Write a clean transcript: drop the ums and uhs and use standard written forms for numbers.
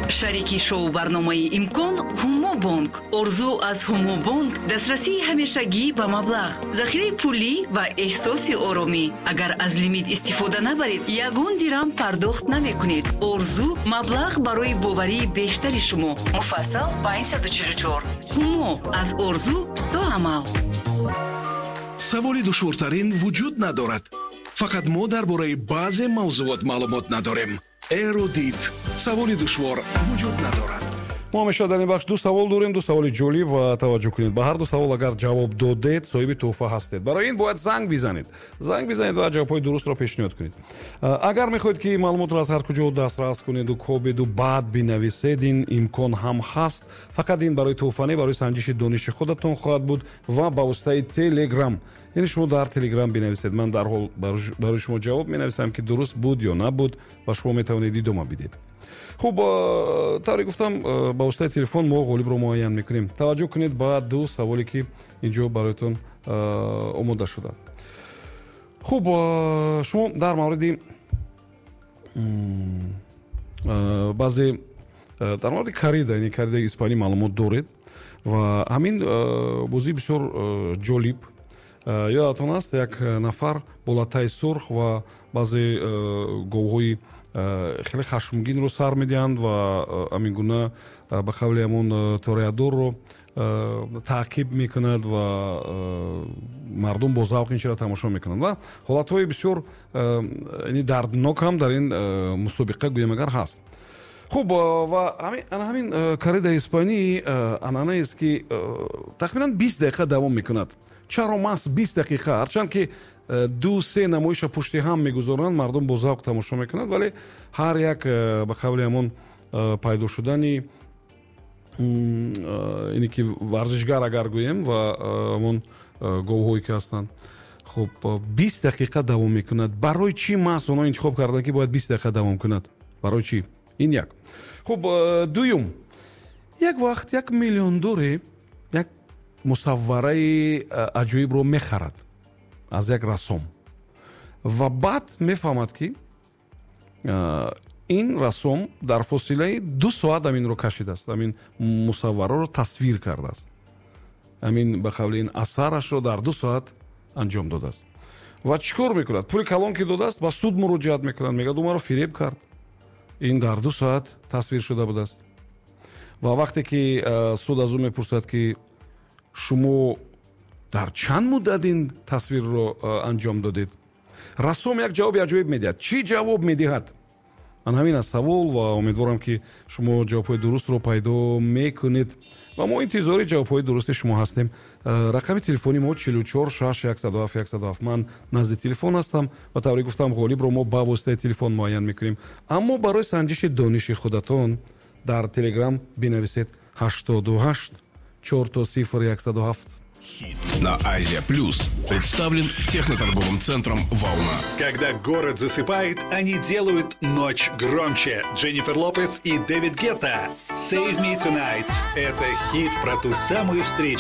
Шарики шоу барномаи «Имкон» «Ҳумо Бонк». Орзу аз «Ҳумо Бонк» дастрасии ҳамешагӣ ба маблағ, захираи пулӣ ва эҳсоси оромӣ. Агар аз лимит истифода набаред, ягон дирам пардохт намекунед. Орзу маблағ барои боварии бештари шумо. Муфассал 544. «Ҳумо» аз орзу то амал. Саволи душвортарин вуҷуд надорад, фақат мо дар бораи баъзе мавзӯот маълумот надорем. Эрудит, саволи душвор вуҷуд надорад. Мо ҳамеша дар ин бахш ду савол дорем, ду саволи ҷолиб, ва таваҷҷӯҳ кунед, ба ҳар ду савол агар ҷавоб додед, соҳиби тӯҳфа ҳастед. Барои ин бояд занг бизанед, занг бизанед ва ҷавобҳои дурустро пешниҳод кунед. Агар мехоҳед, ки маълумотро аз ҳар куҷо дастрас кунеду кобеду баъд бинависед, ин имкон ҳам ҳаст. Фақат ин барои тӯҳфа не, барои санҷиши дониши худатон хоҳад буд ва ба воситаи Телеграм, яъне шумо дар Телеграм бинависед, ман дарҳол барои шумо ҷавоб менависам, ки дуруст буд ё набуд, ва шумо метавонед идома бидед. Хуб, тавре гуфтам, ба воситаи телефон мо ғолибро муайян мекунем. Таваҷҷӯҳ кунед ба ду саволе, ки инҷо бароятон омода шуда. Хуб, шумо дар мавриди баъзе, дар мавриди коррида, яъне корридаи испанӣ маълумот доред ва ҳамин бозӣ бисёр ҷолиб. Ёдатон аст, як нафар бо латтаи сурх ва баъзе говҳои хеле хашмгинро сар медиҳанд ва ҳамин гуна, ба қавли ҳамон тореадорро таъқиб мекунад ва мардум бо завқ ин чиро тамошо мекунанд ва ҳолатҳои бисёр яъне дарднок ҳам дар ин мусобиқа, гӯем агар, ҳаст. Хуб, ва ана ҳамин корридаи испанӣ анъанаест, ки тахминан 20 дақиқа давом мекунад. Чаро маҳз 20 дақиқа? Ҳарчанд ки ду се намоиша пушти ҳам мегузоранд, мардум бо завқ тамошо мекунанд, вале ҳар як, ба қавли ҳамон, пайдо шудани ине ки варзишгар агар гӯем ва ҳамон говҳое ки ҳастанд, хуб, 20 дақиқа давом мекунад. Барои чӣ маҳз онҳо интихоб карданд, ки бояд 20 дақиқа давом кунад? Барои чӣ? Ин як. Хуб, дуюм, як вақт як миллиондоре як мусаввараи аҷоибро мехарад аз як рассом ва баъд мефаҳмад, ки ин рассом дар фосилаи 2 соат ҳаминро кашидааст, ҳамин мусаввараро тасвир кардааст, ҳамин, ба қавли ин асарашро дар 2 соат анҷом додааст. Ва чӣ кор мекунад? Пули калон ки додааст, ба суд муроҷиат мекунад, мегӯяд, ӯ маро фиреб кард, ин дар 2 соат тасвир шуда будааст. Ва вақте ки суд аз ӯ мепурсад, ки шумо дар чанд муддат ин тасвирро анҷом додед, рассом як ҷавоби аҷоиб медиҳад. Чӣ ҷавоб медиҳад? Ан ҳамин аст савол ва умедворам, ки шумо ҷавобҳои дурустро пайдо мекунед ва мо интизори ҷавобҳои дурусти шумо ҳастем. Рақами телефони мо 44 6 107 107. Ман назди телефон ҳастам ва, тавре гуфтам, ғолибро мо ба воситаи телефон муайян мекунем, аммо барои санҷиши дониши худатон дар Телеграм бинависед: 88 000 107. На Азия Плюс представлен техноторговым центром «Волна». Когда город засыпает, они делают ночь громче. Дженнифер Лопес и Дэвид Гетта. «Save Me Tonight» — это хит про ту самую встречу.